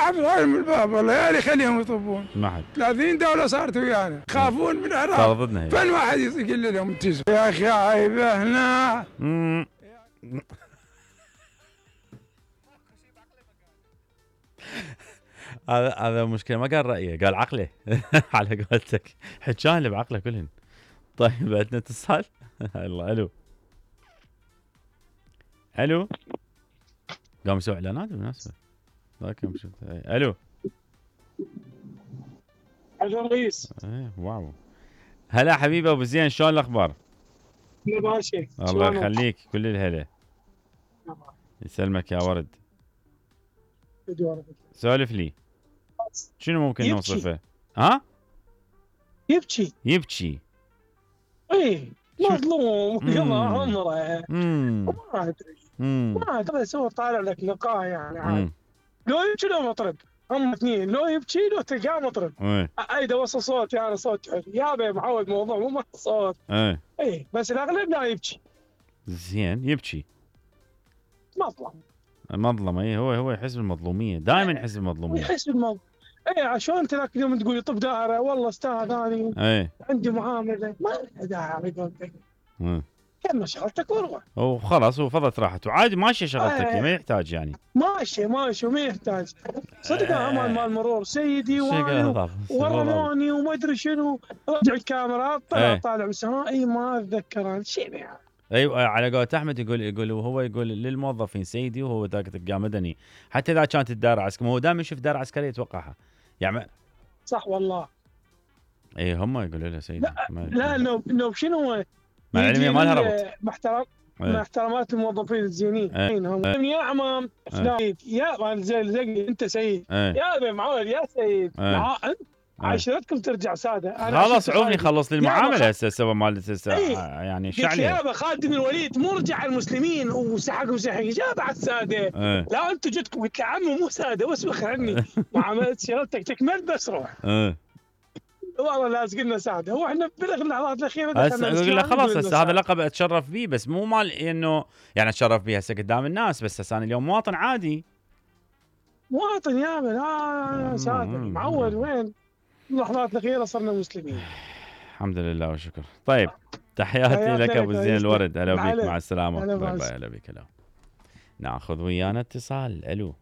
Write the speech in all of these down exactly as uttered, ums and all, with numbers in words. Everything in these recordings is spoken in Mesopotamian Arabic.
حد من الباب والله يا لي خليهم يطبون. ما حد. ثلاثين دولة صارت ويانا خافون من العراق. صار ضدنا هي. فين واحد يقول لهم انتزوا يا اخي عيبه هنا. هذا هذا مشكلة، ما قال رأيه قال عقله على قولتك، حجان اللي بعقله كلهن. طيب عندنا اتصال. الله الو الو قام يسوي اعلانات بالمناسبة. لكن شفت الو الو رئيس. ايه واو. هلا حبيبي ابو زين، شلون الاخبار؟ يا باشا الله يخليك، كل الهلا. يسلمك يا ورد. سولف لي شنو ممكن يبكي. نوصفه؟ ها؟ يبكي يبكي. ايه مظلوم قضى عمره. امم ما ادري امم ما ادري بس هو طالع لك لقاء يعني عادي. امم لو يبكي لو مطرب، هم اثنين، لو يبكي لو تلقاه مطرب. ايه ايده وصل صوت يعني صوت حلو يا بي معود موضوع مو مع صوت. ايه ايه بس الاغلب لا يبكي. زين يبكي. مظلم مظلم. اي هو هو يحس بالمظلوميه، دائما يحس بالمظلوميه. يحس بالموضوع. ايه عشان انت ذاك اليوم تقول لي طب دائره والله استاذ انا ايه عندي معامله ما لها داعي على قولتك. امم كمل شغلتك وروح. وخلاص هو فضت راحته وعادي ماشيه شغلتك، آه. ما يحتاج يعني. ماشي ماشي وما يحتاج صدق. آه. امان مال مرور سيدي وانا ورموني وما ادري شنو. رجع الكاميرات طلع ايه. طالع بالسماء. اي ما اتذكر انا شيء يعني. ايوه على قولة احمد يقول يقول وهو يقول للموظفين سيدي، وهو ذاك تلقاه مدني حتى اذا كانت الدار عسكريه، هو دائما يشوف دار عسكريه يتوقعها يعني. صح والله. اي هم يقولوا له سيدي. لا لا نوب نوب شنو مع العلمية ما لها ربط. محترم ايه. مع احترامات الموظفين الزينين. ايه. هم يا عمام فلان يا زي زي انت سيد. ايه. يا ابي معود يا سيد. ايه. مع انت عشرتكم ترجع ساده. خلاص عوفني خلص لي المعامله هسه سوى مال ايه. يعني شعلي. يابا خالد الوليد مو رجع المسلمين وسحقهم سحق جاب على الساده. ايه. لا انتم جدكم قلت له عمو مو ساده واسبخ عني. معامله شغلتك تكمل بس روح. ايه. والله لازق لنا ساده. هو احنا باللحظات الاخيره هسه اقول له خلاص هسه هذا لقب اتشرف به، بس مو مال انه يعني اتشرف به هسه قدام الناس، بس هسه انا اليوم مواطن عادي. مواطن يابا لا ساده معود. وين اللحظات الاخيره صرنا مسلمين. الحمد لله والشكر. طيب تحياتي لك ابو زين الورد. هلا بيك، مع السلامه. باي باي. هلا بيك. هلا ناخذ ويانا اتصال. الو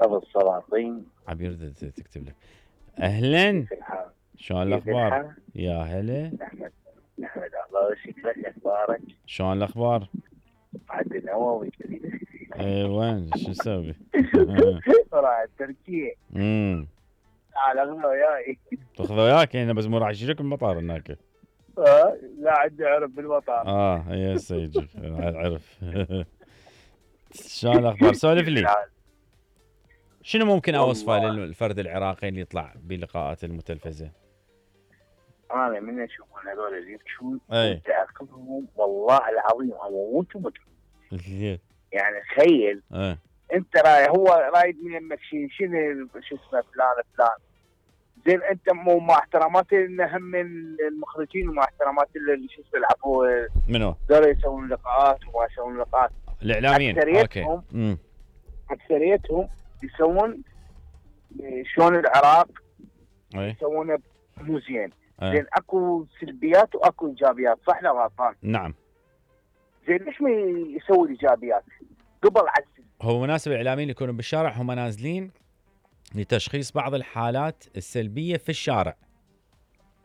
ابو السلاطين عبير تكتب لك. اهلا شلون الاخبار؟ يا هلا نحمد نحمد الله وشكرك. اخبارك؟ شلون الاخبار؟ عاد النووي. اي وين شو نسوي؟ راح تركيا. امم تعال اخذه وياي. تاخذه وياك هنا، بس مو راح يجيك بالمطار هناك. اه لا عندي عرف بالمطار. اه هي سيجي عرف. شلون الاخبار؟ سولف لي شنو ممكن اوصفه للفرد العراقي اللي يطلع بلقاءات المتلفزه؟ انا من اشوفون هذول اللي يبكون اي تعقلهم والله العظيم اموت ومت. زين يعني تخيل ايه. انت راي هو رايد من يمك شيء شنو شو اسمه فلان فلان. زين انت مو مع احترامات هم من المخرجين ومع احترامات اللي شو اسمه العفو منو؟ دول يسوون لقاءات وما يسوون لقاءات. الاعلاميين اكثريتهم امم اكثريتهم يسوون شلون العراق اي يسوونه مو زين. أه. زين اكو سلبيات واكو ايجابيات صح لا غلطان؟ نعم. زين ليش ما يسوي الايجابيات قبل عسل؟ هو مناسب الاعلاميين يكونوا بالشارع هم نازلين لتشخيص بعض الحالات السلبيه في الشارع.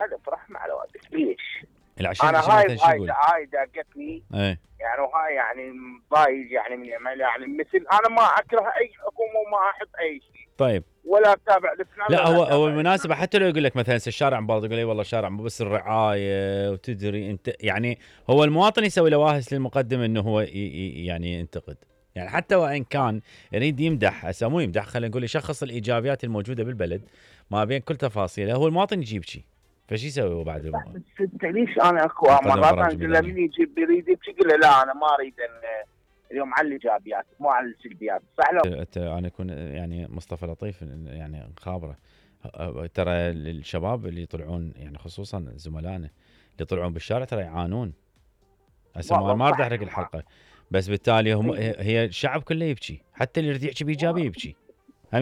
هذا فرح مع الوالد ليش؟ العشان انا هاي هاي هاي داقتني. ايه. يعني وهاي يعني ضايج يعني من يعني مثل انا ما اكره اي حكومه وما احب اي شيء. طيب ولا اتابع لفلان. لا هو هو المناسبه حتى لو يقول لك مثلا الشارع مبالغ، تقول لي والله الشارع مو بس الرعايه وتدري انت يعني هو المواطن يسوي لواهس للمقدم انه هو يعني ينتقد، يعني حتى وان كان يريد يمدح هسه مو يمدح، خلينا نقول يشخص الايجابيات الموجوده بالبلد ما بين كل تفاصيله، هو المواطن يجيب شيء فشي يسوي هو بعد؟ بس انت ليش انا اكو مرات اقول له من يجيب يريد يبكي قل له لا انا ما اريد ان اليوم على الايجابيات مو على السلبيات صح لو انا اكون يعني مصطفى لطيف يعني خابره ترى الشباب اللي يطلعون يعني خصوصا زملائنا اللي يطلعون بالشارع ترى يعانون هسه ما راح احرق الحلقه، بس بالتالي هم هي الشعب كله يبكي، حتى اللي يريد يحكي بايجابيه يبكي.